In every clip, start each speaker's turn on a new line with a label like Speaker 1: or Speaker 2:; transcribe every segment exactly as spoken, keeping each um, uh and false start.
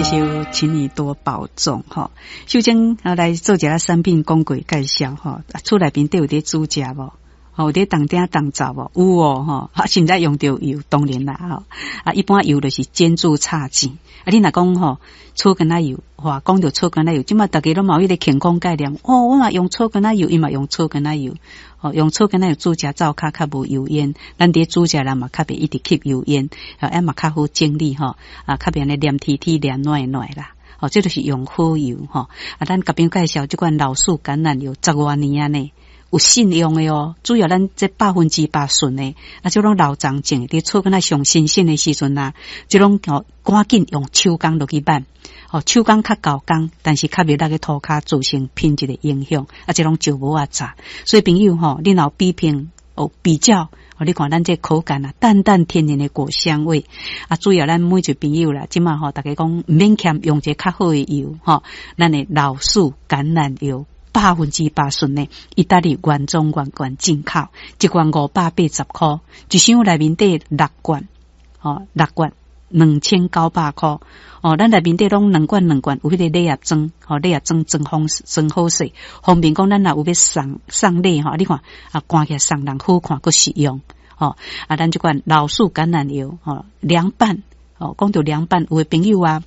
Speaker 1: 首請你多保重吼。秀貞啊，來做一下產品廣告介紹吼。厝內面底有佇煮食無？吼，有佇當鼎當灶無？有哦吼。啊，現在用著油，當然啦吼。啊，一般油就是煎煮炒煎。啊，你若講吼草根仔油，哇，講著草根仔油，這馬逐家攏嘛有彼個健康概念。哦，我嘛用草根仔油，伊嘛用草根仔油。哦，用草根仔油煮食，灶跤較無油煙。咱佇煮食人嘛較袂一直吸油煙，啊，嘛較好整理吼，啊，較袂按呢黏貼貼黏軟軟啦。哦，這就是用好油吼。啊，咱共朋友介紹這款老樹橄欖油十外年啊呢，有信用的哦。主要咱這百分之百純的，啊，這攏老欉種的，佇草根仔上新鮮的時陣啊，這攏哦趕緊用手工落去挽。哦，手工較厚工，但是較袂落去塗跤造成品質的影響，啊，這攏石磨仔榨。所以朋友吼，你若有比拼哦比較，哦，你看咱這口感啊，淡淡天然的果香味。啊，主要咱每一個朋友啦，這馬吼，逐家講毋免儉用一个較好的油吼，咱的老樹橄欖油。百分之百純的，意大利原裝原罐進口，一罐五百八十箍，一箱內面底六罐，吼六罐兩千九百箍。哦，咱內面底攏兩罐兩罐，有彼個禮盒裝，吼禮盒裝裝方裝好勢，方便講咱若有欲送送禮吼，你看啊，看起來送人好看，閣實用，吼啊，咱這款老樹橄欖油，吼涼拌，哦，講著涼拌，有的朋友啊，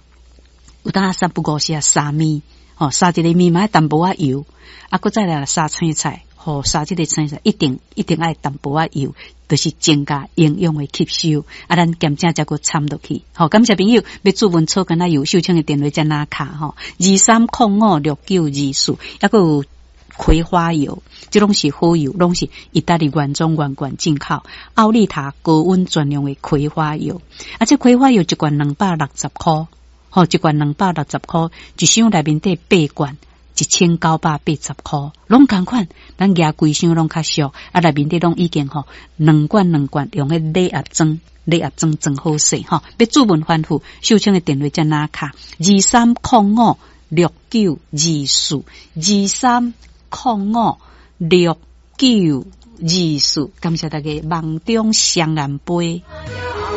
Speaker 1: 有當三不五時啊，沙麵，吼沙一个麵嘛愛淡薄仔油，啊，閣再來沙青菜，吼沙這个青菜一定一定愛淡薄仔油，就是增加營養的吸收。啊，咱鹹食才閣摻落去。好，感謝朋友欲注文草根仔油，秀清的電話才哪卡吼，二三空五六九二四，抑閣有葵花油，這攏是好油，攏是意大利原裝原罐進口，奧利塔高溫專用的葵花油。啊，這葵花油一罐兩百六十箍，吼，一罐兩百六十箍，一箱內面底八罐。一千九百八十箍，攏仝款，咱舉規箱攏較俗，啊，內面底攏已經吼兩罐兩罐用彼禮盒裝，禮盒裝裝好勢吼。欲注文吩咐，秀清的電話才哪卡？二三空五六九二四，二三空五六九二四，感謝大家網中雙人杯。